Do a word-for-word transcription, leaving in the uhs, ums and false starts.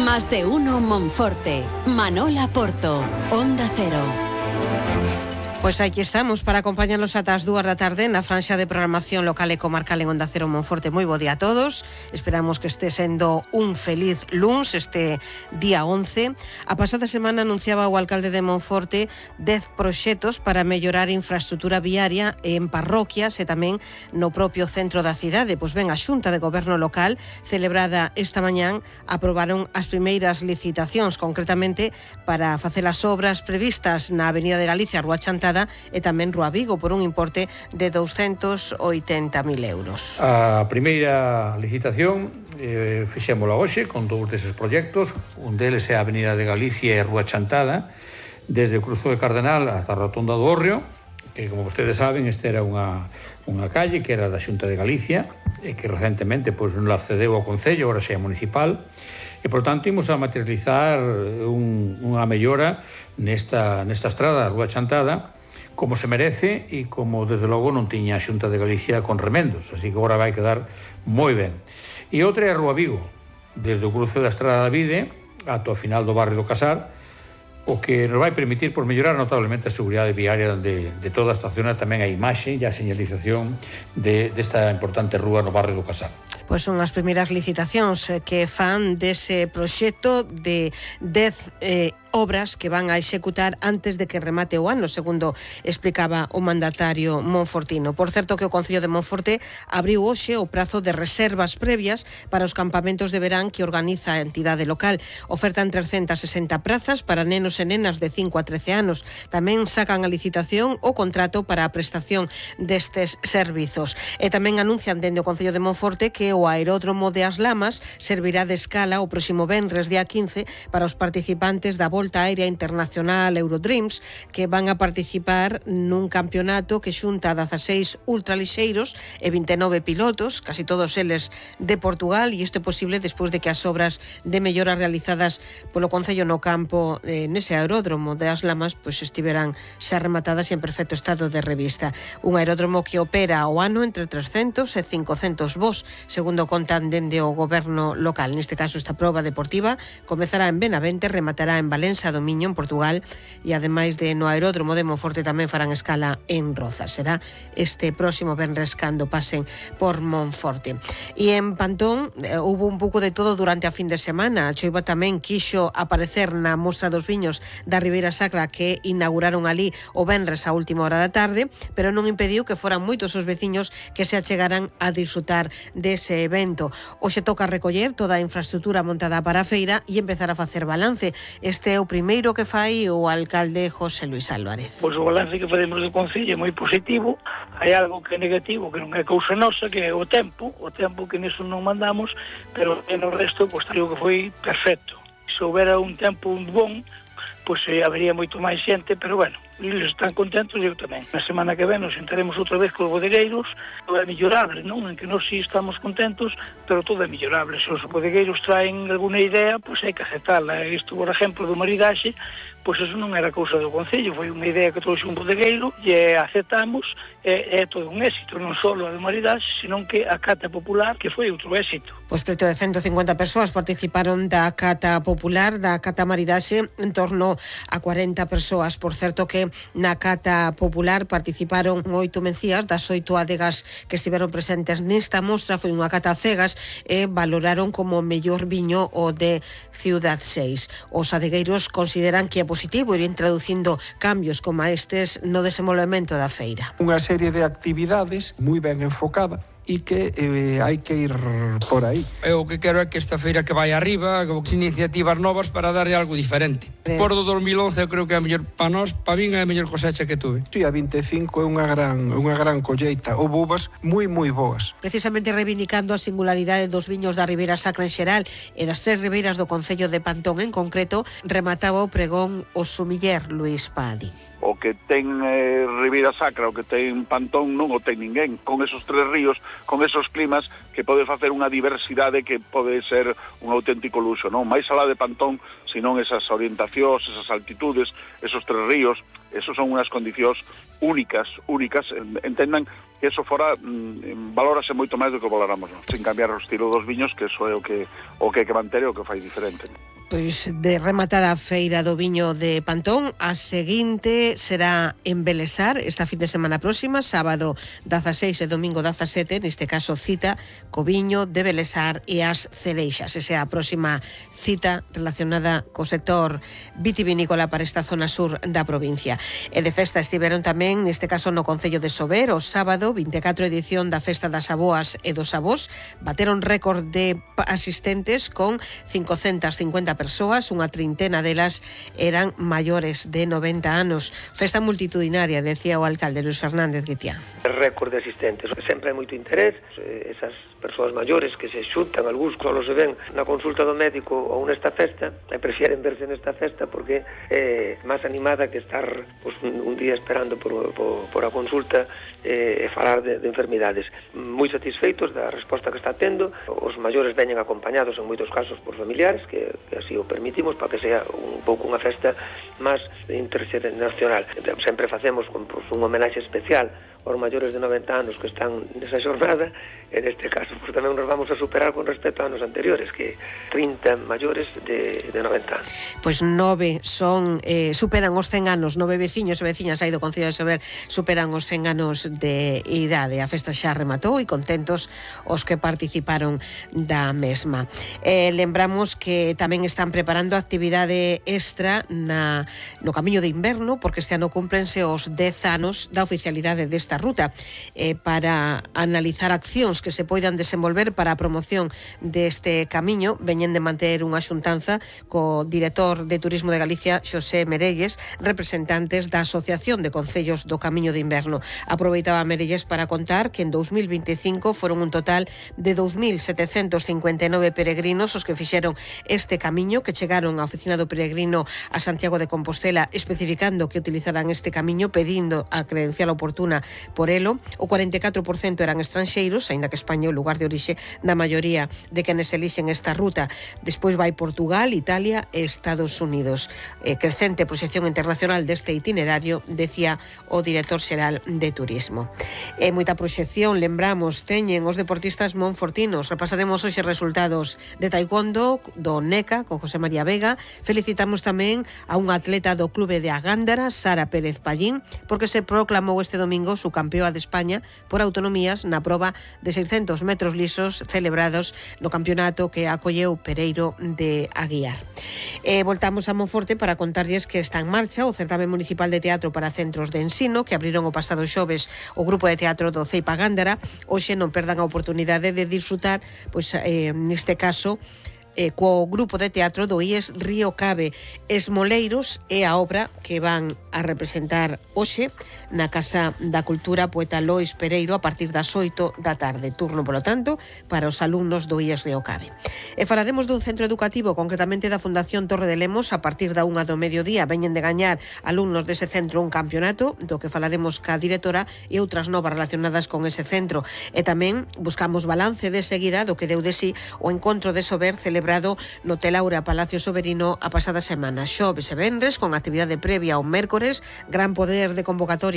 Más de uno Monforte. Manola Porto. Onda Cero. Pois aquí estamos para acompañarnos ata as dúas da tarde na franxa de programación local e comarcal en Onda Cero Monforte. Moi bo día a todos. Esperamos que este sendo un feliz luns, este día once. A pasada semana anunciaba o alcalde de Monforte dez proxectos para mellorar infraestrutura viaria en parroquias e tamén no propio centro da cidade. Pois ben, a Xunta de Goberno local, celebrada esta mañán, aprobaron as primeiras licitacións, concretamente para facer as obras previstas na Avenida de Galicia, Rúa Chantada, e tamén Rúa Vigo, por un importe de douscentos oitenta mil euros. A primeira licitación eh, fixémola hoxe con todos eses proxectos. Un deles é a Avenida de Galicia e Rúa Chantada, desde o Cruzo de Cardenal hasta a Rotonda do Hórreo, que, como vostedes saben, esta era unha, unha calle que era da Xunta de Galicia e que recentemente pois, non la cedeu ao Concello, agora xa é municipal, e, por tanto, imos a materializar un, unha mellora nesta, nesta estrada, a Rúa Chantada, como se merece e como, desde logo, non tiña a Xunta de Galicia con remendos, así que agora vai quedar moi ben. E outra é a Rúa Vigo, desde o cruce da Estrada da Vide ata o final do barrio do Casar, o que nos vai permitir por mellorar notablemente a seguridade viaria de, de toda esta zona, tamén a imaxe e a señalización de, desta importante rúa no barrio do Casar. Pois son as primeiras licitacións que fan dese proxecto de dez eh, obras que van a executar antes de que remate o ano, segundo explicaba o mandatario monfortino. Por certo que o Concello de Monforte abriu hoxe o prazo de reservas previas para os campamentos de verán que organiza a entidade local. Ofertan trescentas sesenta prazas para nenos e nenas de cinco a trece anos. Tamén sacan a licitación o contrato para a prestación destes servizos. E tamén anuncian dende o Concello de Monforte que o aeródromo de As Lamas servirá de escala o próximo venres día quince para os participantes da Volta Aérea Internacional Eurodreams, que van a participar nun campeonato que xunta dezaseis ultralixeiros e vinte e nove pilotos, casi todos eles de Portugal, e isto é posible despois de que as obras de mellora realizadas polo Concello no campo eh, nese aeródromo de As Lamas pois estiveran xa rematadas e en perfecto estado de revista. Un aeródromo que opera ao ano entre trescentos e cincocentos voos, segundo contan dende o goberno local. Neste caso, esta proba deportiva comezará en Benavente, rematará en Valença do Miño, en Portugal, e ademais de no aeródromo de Monforte tamén farán escala en Rozas. Será este próximo venres cando pasen por Monforte. E en Pantón eh, hubo un pouco de todo durante a fin de semana. A choiva tamén quixo aparecer na Mostra dos Viños da Ribeira Sacra que inauguraron ali o venres a última hora da tarde, pero non impediu que foran moitos os veciños que se achegaran a disfrutar dese evento. Hoxe toca recoller toda a infraestrutura montada para a feira e empezar a facer balance. Este é o primeiro que fai o alcalde José Luis Álvarez. Pois o balance que facemos do Concello é moi positivo. Hai algo que é negativo, que non é cousa nosa, que é o tempo, o tempo que nisso non mandamos, pero no resto, pois, digo que foi perfecto. Se houbera un tempo bon, pois eh, habería moito máis xente, pero bueno, eles están contentos e eu tamén. Na semana que ven nos sentaremos outra vez cos bodegueiros, todo é mellorable, non? En que nós sí estamos contentos, pero todo é mellorable. Se os bodegueiros traen alguna idea, pois hai que aceptala. Isto, por exemplo, do maridaxe, pois eso non era cousa do Concello, foi unha idea que trouxe un bodegueiro e aceptamos, e é todo un éxito, non só a do maridaxe, senón que a cata popular, que foi outro éxito. Pois preto de ciento cincuenta persoas participaron da cata popular, da cata maridaxe, en torno a cuarenta persoas. Por certo que na cata popular participaron oito mencías das oito adegas que estiveron presentes nesta mostra. Foi unha cata cegas e valoraron como mellor viño o de Ciudad seis. Os adegueiros consideran que é positivo ir introducindo cambios como estes no desenvolvemento da feira. Unha serie de actividades moi ben enfocada e que eh, hai que ir por aí. Eu o que quero é que esta feira que vai arriba, con iniciativas novas para darlle algo diferente. Eh. Por do dos mil once eu creo que é a mellor para nós, para min é a mellor cosecha que tuve. Si, a vinte e cinco é unha gran, unha gran colleita, ou uvas moi moi boas. Precisamente reivindicando a singularidade dos viños da Ribeira Sacra en xeral e das tres ribeiras do Concello de Pantón en concreto, remataba o pregón o sumiller Luís Padi. O que ten eh, Ribeira Sacra, o que ten Pantón, non o ten ninguén. Con esos tres ríos, con esos climas, que pode facer unha diversidade que pode ser un auténtico luxo, non? Mais alá de Pantón, senón esas orientacións, esas altitudes, esos tres ríos, esos son unhas condicións únicas, únicas, entendan que eso fora, mm, valórase moito máis do que valoramos, non? Sin cambiar o estilo dos viños, que eso é o que o que hai que manter e o que fai diferente. Pois de rematada a feira do viño de Pantón, a seguinte será en Belesar esta fin de semana próxima, sábado dieciséis e domingo diecisiete, neste caso cita co viño de Belesar e as cereixas. Esa é a próxima cita relacionada co sector vitivinícola para esta zona sur da provincia. E de festa estiveron tamén, neste caso no concello de Sober, o sábado, vinte e catro edición da Festa das Aboas e dos Avós, bateron récord de asistentes con cincocentas cincuenta persoas, unha trintena delas eran maiores de noventa anos. Festa multitudinaria, decía o alcalde Luis Fernández Guitián. Récord de asistentes, sempre hai moito interés, esas persoas maiores que se xuntan, algúns solo se ven na consulta do médico ou nesta festa, e prefieren verse nesta festa porque é máis animada que estar pues, un, un día esperando por, por, por a consulta e, e falar de, de enfermidades. Moi satisfeitos da resposta que está tendo, os maiores veñen acompañados en moitos casos por familiares, que, que así o permitimos para que sea un pouco unha festa máis internacional. Sempre facemos con, pues, un homenaxe especial aos maiores de noventa anos que están nesa xornada, e neste caso pues, tamén nos vamos a superar con respecto a anos anteriores, que trinta maiores de, de noventa anos. Pois nove son, eh, superan os cen anos, nove veciños e veciñas aí do Concello de Sober superan os cen anos de idade. A festa xa rematou e contentos os que participaron da mesma. Eh, lembramos que tamén están preparando actividade extra na, no Camiño de Inverno, porque este ano cúmplense os dez anos da oficialidade desta ruta, eh, para analizar accións que se poidan desenvolver para a promoción deste camiño. Veñen de manter unha xuntanza co director de Turismo de Galicia, Xosé Merelles, representantes da Asociación de Concellos do Camiño de Inverno. Aproveitaba Merelles para contar que en dous mil vinte e cinco foron un total de dous mil setecentos cincuenta e nove peregrinos os que fixeron este camiño, que chegaron á oficina do peregrino a Santiago de Compostela especificando que utilizaran este camiño, pedindo a credencial oportuna por elo. O cuarenta e catro por cento eran estranxeiros, aínda que España é o lugar de orixe da maioría de quenes elixen esta ruta. Despois vai Portugal, Italia e Estados Unidos. Eh, crecente proxección internacional deste itinerario, decía o director xeral de Turismo. E moita proxección, lembramos, teñen os deportistas monfortinos. Repasaremos hoxe resultados de taekwondo do NECA con José María Vega. Felicitamos tamén a unha atleta do clube de Agándara, Sara Pérez Pallín, porque se proclamou este domingo su campeoa de España por autonomías na proba de seiscentos metros lisos celebrados no campeonato que acolleu Pereiro de Aguiar. E voltamos a Monforte para contarlles que está en marcha o certame municipal de teatro para centros de ensino que abriron o pasado xoves o grupo de teatro do Ceipa Gándara. Hoxe non perdan a oportunidade de disfrutar, pois eh, neste caso, eh, co grupo de teatro do I E S Río Cabe. Esmoleiros é a obra que van a representar hoxe na Casa da Cultura Poeta Lois Pereiro a partir das oito da tarde. Turno, polo tanto, para os alumnos do I E S Río Cabe. E falaremos dun centro educativo, concretamente da Fundación Torre de Lemos, a partir da unha do mediodía. Veñen de gañar alumnos dese centro un campeonato, do que falaremos ca directora e outras novas relacionadas con ese centro. E tamén buscamos balance de seguida do que deu de sí o encontro de Sober celebrado no Telaura Palacio Soberino a pasada semana. Xoves e venres, con actividade previa ao mércores, gran poder de convocatoria